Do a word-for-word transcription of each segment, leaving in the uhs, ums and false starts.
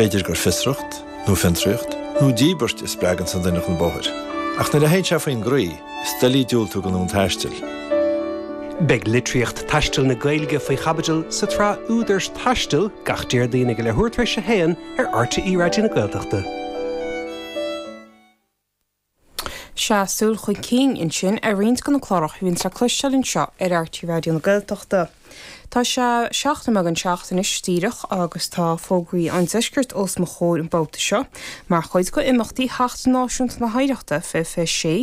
B'fhéidir gur fiosracht, nó fiontraíocht, nó díbirt a spreagann an duine chun bóthair. Ach nuair a théann sé faoin gcroí, is doiligh diúltú don fhonn taistil. Beidh litríocht taistil na Gaeilge faoi chaibidil sa tsraith Údair Taistil gach Déardaoin ag leathuair tar éis a haon ar RTÉ Raidió na Gaeltachta. Sea, súil chun cinn ansin ar roinnt de na cláracha a bhíonn le cloisteáil anseo ar RTÉ Raidió na Gaeltachta. Tá sé seacht nóiméad don seacht anois díreach agus tá fógraí an deiscirt os mo chomhair an babhta seo, mar chuid de imeachtaí Sheachtain Náisiúnta na hOidhreachta fiche fiche sé,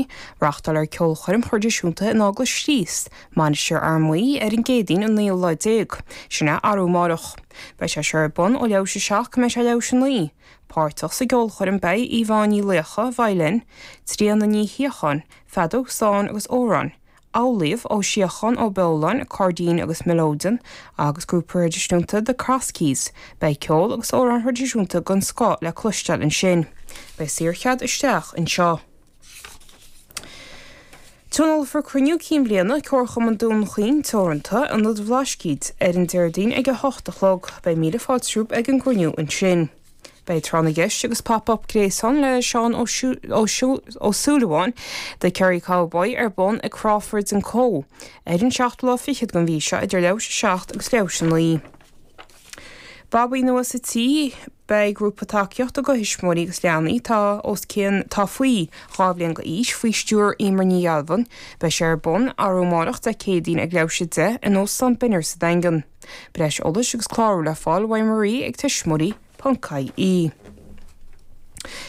reáchtálfar ceolchoirm thraidisiúnta in Eaglais Chríost, Mainistir Fhear Maí ar an gCéadaoin an naoú lá déag, sin é arú amárach. Beidh sé seo ar bun ó leathuair tar éis a seacht go mbeidh sé leathuair tar éis a naoi. Páirteach sa gceolchoirm beidh Yvonne Ní Laocha, veidhlín, Tríona Ní Shíocháin, feadóg stáin agus amhráin, Amhlaoibh Ó Síocháin Ó Beoláin, cairdín agus mileoidean, agus grúpa traidisiúnta The Cross Keys. Beidh ceol agus amhráin thraidisiúnta den scoth le cloisteáil ansin. Beidh saorchead isteach anseo. Tionólfar cruinniú cinn bliana Comharchumann Dún Chaoin Teoranta Ionad Bhlascaoid ar an Déardaoin ag a hocht a chlog, beidh míle fáilte romhaibh ag an gcruinniú ansin. Beidh tráth na gceist agus pop-up gréasáin le Seán Ó Súilleabháin The Kerry Cowboy ar bun ag Crawfords and Co. Ar an seachtú lá fichead den mhí seo idir leathuair tar éis a seacht agus leathuair tar éis a naoi. Babaí nua sa tí beidh grúpa tacaíochta do thuismitheoirí agus leanaí tá os cionn tá faoi dhá bhliain d'aois faoi stiúir Emer Ní Ghealbhain, beidh sé ar bun arú amárach Dé Céadaoin ag leathuair tar éis a deich in Óstán Binner sa Daingean. Breis eolais agus clárú le fáil uaidh Marie ag tuismitheoirí .ie.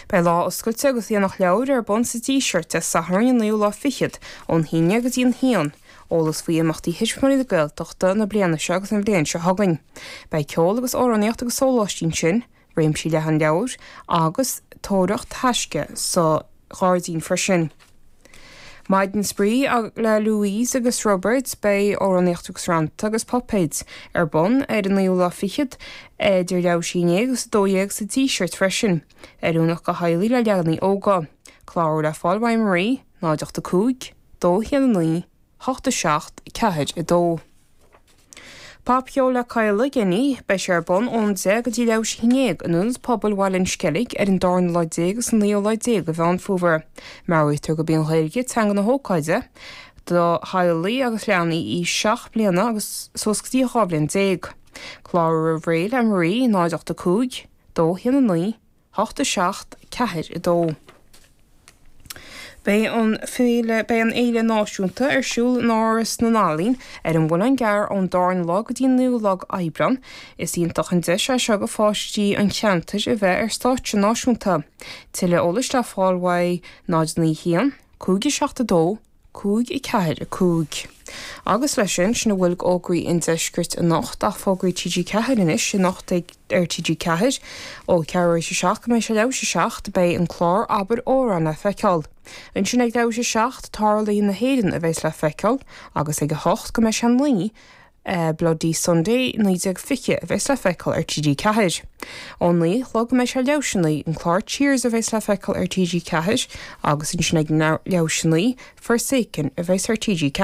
Beidh lá oscailte agus aonach leabhar ar bun sa Díseart Dé Sathairn an naoú lá fichead ón haon déag go dtí an haon, eolas faoi imeachtaí Thuismitheoirí na Gaeltachta na bliana seo agus an bhliain seo chugainn. Beidh ceol agus amhránaíocht agus sóláistí ansin, réimse leathan leabhar agus tóraíocht taisce sa ghairdín freisin. Maidin spraoi le Louise agus Robert beidh amhránaíocht agus rannta agus puipéid ar bun ar an naoú lá fichead idir leathuair tar éis a haon déag agus a dó dhéag sa Díseart freisin, oiriúnach do theaghlaigh le leanaí óga. Clárú le fáil uaidh Marie, náid ocht a cúig, dó haon a naoi, hocht a seacht, ceathair a dó. Popcheol le Kyle Jenny beidh sé ar bun ón deich go dtí leathuair tar éis a haon déag in Ionad Pobail Bhaile an Sceilg ar an darna lá déag agus an naoú lá déag de Mheán Fómhair. Meabhraítear gurb í an Ghaeilge teanga na hócáide do theaghlaigh agus leanaí aois seacht bliana agus suas go dtí dhá bhliain déag. Clárú roimh ré le Marie náid ocht a cúig, dó haon a naoi, hocht a seacht, ceathair a dó. Beidh an féile beidh an fhéile náisiúnta ar siúl in Áras na nEalaíon ar an Mhuileann gCearr ón darna lá go dtí an naoú lá Aibreán. Is iontach an deis é seo do pháistí an cheantair a bheith ar stáitse náisiúnta. Tuilleadh eolais le fáil uaidh náid naoi haon, cúig a seacht a dó, cúig a ceathair a cúig. Agus leis sin sin a bhfuil d'fhógraí an deiscirt anocht ach fógraí TG Ceathair anois anocht ag ar TG Ceathair ó ceathrú tar éis a seacht go mbeidh sé leathuair tar éis a seacht beidh an clár Abair Amhrán le feiceáil. Ansin ag leathuair tar éis a seacht Tarluithe na hÉireann a bheas le feiceáil agus ag a hocht go mbeidh sé naoi uh, Bloody Sunday naoi déag fiche a bheas le feiceáil ar TG Ceathair. Ó naoi a chlog go mbeidh sé leathuair tar éis a naoi an clár Cheers a bheas le feiceáil ar TG Ceathair agus ansin ag leathuair tar éis a naoi Forsaken a bheas ar TG